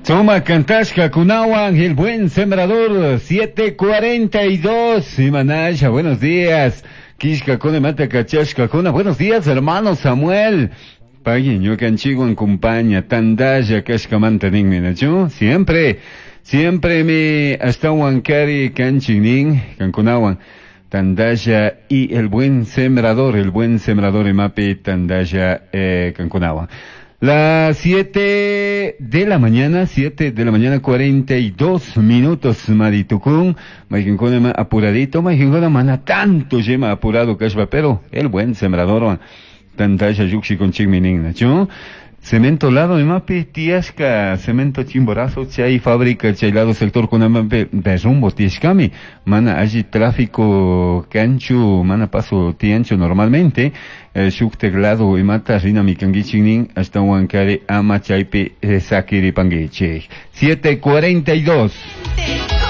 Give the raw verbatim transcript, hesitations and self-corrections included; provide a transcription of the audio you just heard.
Suma Cantashka Kunawan, el buen sembrador, siete cuarenta y dos. Imanasha, buenos días. Kishka Kone Mata Kachashka Kuna, buenos días, hermano Samuel. Pagui, ñukanchikwan compaña, tandalla kashkamanta ninmi, ¿nachu? Siempre, siempre me ashtawan kari kanchik kankunawan. Tandalla y el buen sembrador, el buen sembrador imapi tandalla eh, kankunawan. Las siete de la mañana, siete de la mañana, cuarenta y dos minutos, Maritucún, Maikinkuna apuradito, Maikinkuna mana tanto yema apurado kashpa, pero el buen sembrador, tandalla yuxi con chingminin, ¿nachu? Cemento lado, imapi, tiashka, cemento chimborazo, chay fábrica, chay lado sector con amape, derrumbo, tiashkami, mana allí tráfico cancho, mana paso tiancho normalmente, eh, shuk lado imata rina mikangichinin, hasta huancare ama chaypi eh, sakiri panguichi. siete cuarenta y dos.